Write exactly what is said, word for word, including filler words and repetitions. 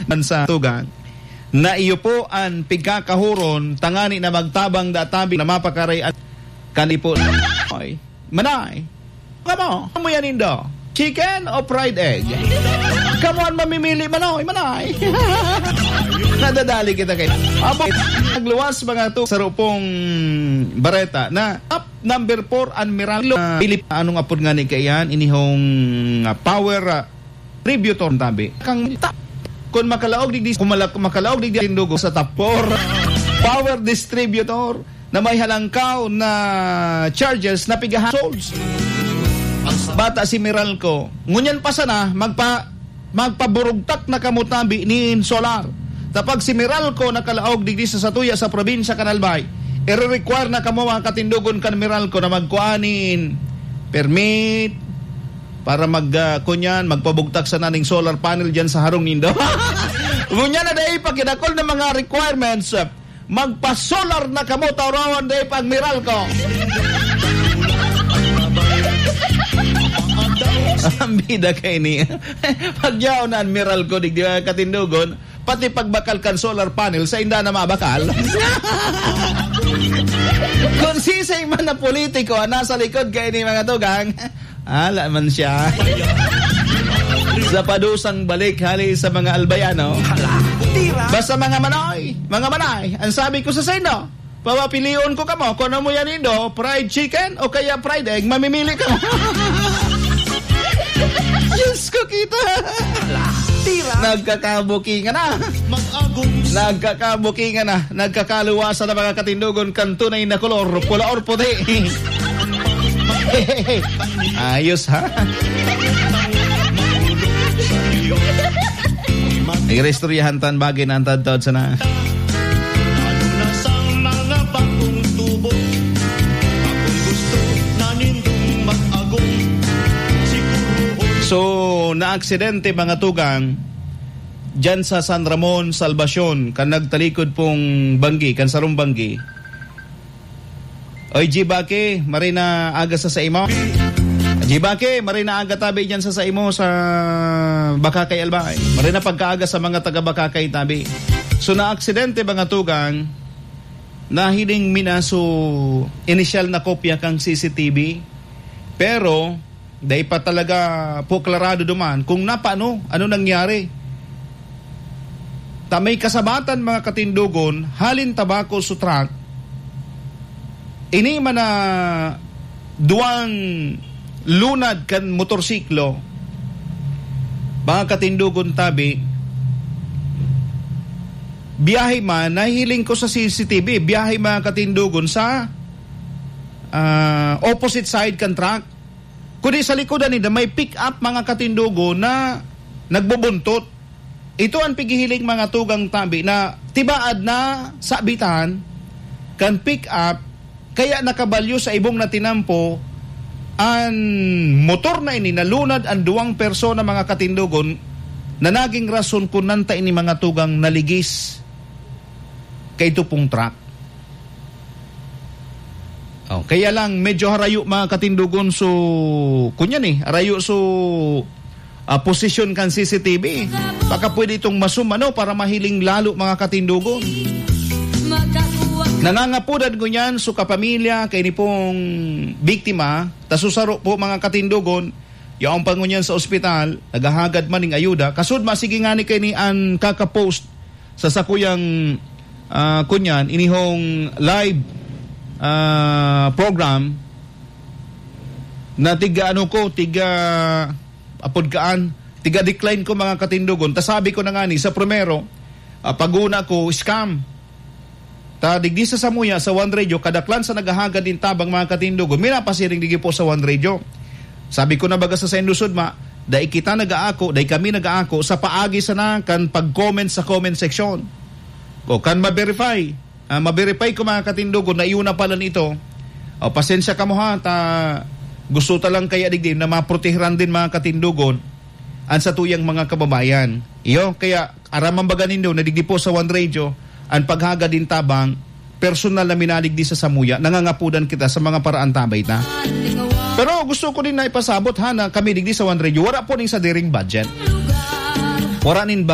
man sa tugang, na iyo po an pigkakahuron tangani na magtabang da tabi na mapakaray an kanipo. Ay, manay. Kamo, ano mo yan, Indo? Chicken o fried egg? Kamo an mamimili, manoy, manay. Nadadali kita kay Abo, nagluwas mga tu-, sa rupong bareta na up number four, an Miral, ah, Pilip, anong apod nga ni kaiyan? Inihong, ah, power, ah, distributor tabi. Kang ta-, kung makalaog digdi, kung mala-, makalaog digdi tindugo sa tapor. Power distributor na may halangkaw na charges na pigahan souls. Bata si Meralco. Ngunyan pa sana, magpa-, magpaburugtak na kamo tabi nin solar. Tapag si Meralco nakalaog digdi sa satuya sa probinsya kan Albay, ire-require na kamo mga katindogon kan Meralco na magkuha nin permit para mag, ah, kunyan, magpabugtak sana ning solar panel dyan sa harong nindo. Ngunyan na dai pa kidakol na mga requirements. Magpa-solar na kamo, Taurawan, dai pa ang Meralco. Ang bida kay ni, pagyaon na ang Meralco, digdi mga katindogon, pati pagbakal kan solar panel, sa inda na mabakal. Kung sisay man na politiko ang nasa likod kay ni mga tugang, ala man siya. Sa padusang balik, hali sa mga Albayano. Hala, tira. Basta mga manay, mga manay, ang sabi ko sa saindo, papapilion ko kamo, kung ano mo yan, Indo, fried chicken o kaya fried egg, mamimili ka. Diyos ko, kita. Hala, tira. Nagkakabukingan na. Mag-agom. Nagkakabukingan na. Nagkakaluwasan na mga katindogon kan tunay na kolor, pula or puti. Ayos, ha? Nag-iristoryahan tan bagay na ang tadtad sana. Ano na sang mga bagong tubo? Akong gusto na nindong mag-agom. Siguro. So, naaksidente, mga tugang, dyan sa San Ramon, Salvacion, kan nagtalikod pong banggi, kan sarong banggi. Oy, Jibake, maray na aga sa saimo. Jibake, maray na aga tabi dyan sa saimo sa Bakakay, Albay. Maray na pagkaaga sa mga taga Bakakay tabi. So, naaksidente, mga tugang, nahiling mi na so inisyal na kopya kang C C T V. Pero, dai pa talaga po klarado duman kung napano, ano nangyari. Ta may kasabatan, mga katindogon, halin Tabaco sa truck. Ini man na duwang lunad kan motorsiklo, mga katindogon tabi, biyahe man, nahiling ko sa C C T V, biyahe, mga katindogon, sa, ah, opposite side kan truck. Kundi sa likodan ninda, may pick-up, mga katindogon, na nagbubuntot. Ito ang pighihiling, mga tugang tabi, na tibaad na sabitan kan pick-up, kaya nakabalyo sa ibong na tinampo an motor na ini, nalunad an duwang persona, mga katindogon, na naging rason kun nanta ini, mga tugang, naligis kaito pong truck. Oh, kaya lang, medyo harayo, mga katindogon, so, kunyan eh, harayo so, ah, posisyon kan C C T V. Baka pwede itong masumano para mahiling lalo, mga katindogon. Nangangapudan ngunyan so kapamilya kay ni pong biktima, ta susaro po, mga katindogon, yaon pa ngunyan sa ospital, naghahagad man ning ayuda. Kasud, masigi ngani kay ni an kakapost sa sakuyang, ah, kunyan, inihong live, ah, program na tiga ano ko, tiga apod kaan, tiga decline ko, mga katindogon. Ta sabi ko na nga ni, sa primero, ah, paguna ko, scam. Ta digdi sa samuya, sa One Radio, kadaklan sa naghahagad nin tabang, mga katindogon, minapasiring digdi po sa One Radio. Sabi ko na baga sa saindo sudma, dai kita nag-aako, dai kami nag-aako sa paagi sana kan pag-comment sa comment section. O kan ma-verify, ah, ma-verify ko, mga katindogon, na iyo na pala nito. O, pasensya kamo ha, ta gusto ta lang kaya digdi na maprotehiran din, mga katindogon, an satuyang mga kababayan. Iyo, kaya aram man baga nindo na digdi po sa One Radio, an paghagad nin tabang, personal na minadigdi sa samuya, nangangapudan kita sa mga paraan tabay ta. Pero gusto ko din na ipasabot ha, na kami digdi sa One Radio, wala po ning sadiring budget. Wala nin